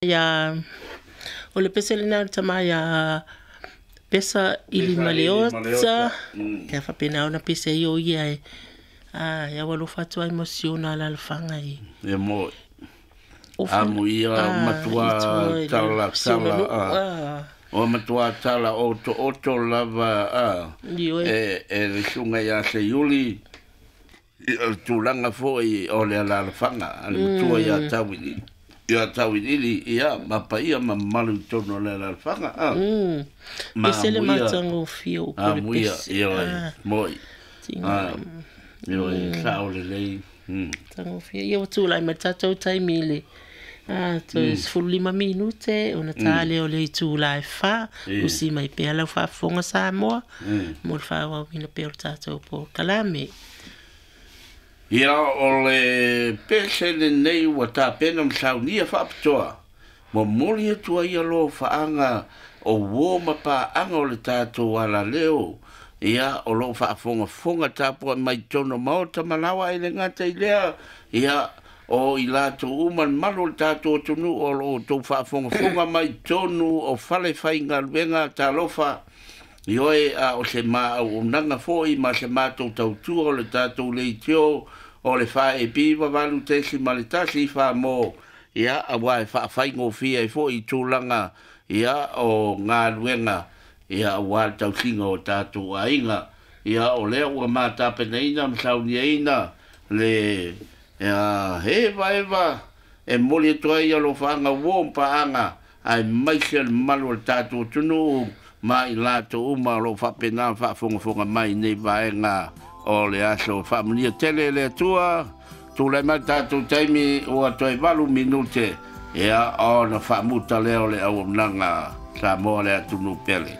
Ia o le pese lena o le tama ia Pesa ili ma le ota. Ia faapena ona pese ai o ia e a ia ua alofa atu ai mo si ona alaalafaga i. Ia mo amuia matua tala tala o matua tala oto oto lava a e le susuga ia Seiuli i o le tulaga foi o le alaalafaga a le matua ia Tauiliili ia Tauiliili ia ma paia ma mamalu i totonu o le alaalafaga a ma Ese le matagofie o upu o le amuia pese. Ioe moi a ioe sao lelei. Matagofie. Ia ua tulai mai le tatou taimi i le toe 15 minute ona ta lea o le itula e 4. Usi mai pea lau faafofoga Samoa mo le faaauauina pea o le tatou polokalame. Ia o le pese lenei ua tapena ma saunia faapitoa, momoli atu ai alofaaga o uo ma paaga o le tatou alaleo, ia o loo faafogafoga tapuai mai totonu o maota ma laoa e le gata i lea, ia o i latou uma le malu o le tatou atunuu o loo outou faafogafoga mai totonu o fale faigaluega talofa. Ioe a o se ma auaunaga foi ma se matou tautua o le tatou leitio o le 4AP 8.1 Samoa, ia aua e faafaigofie ai foi i tulaga ia o galuega ia aua le tausiga o tatou aiga. Ia o lea ua matapenaina ma sauniaina le ia eva eva e momoli atu ai alofaaga uo ma paaga aemaise le mamalu o le tatou atunuu ma i latou uma o loo faapena faafogafoga mai nei vaega o le aso. Faamanuia tele le Atua. Tulai mai tatou taimi ua toe 8 minute ia ona faamuta lea o le auaunaga Samoa le atunuu pele.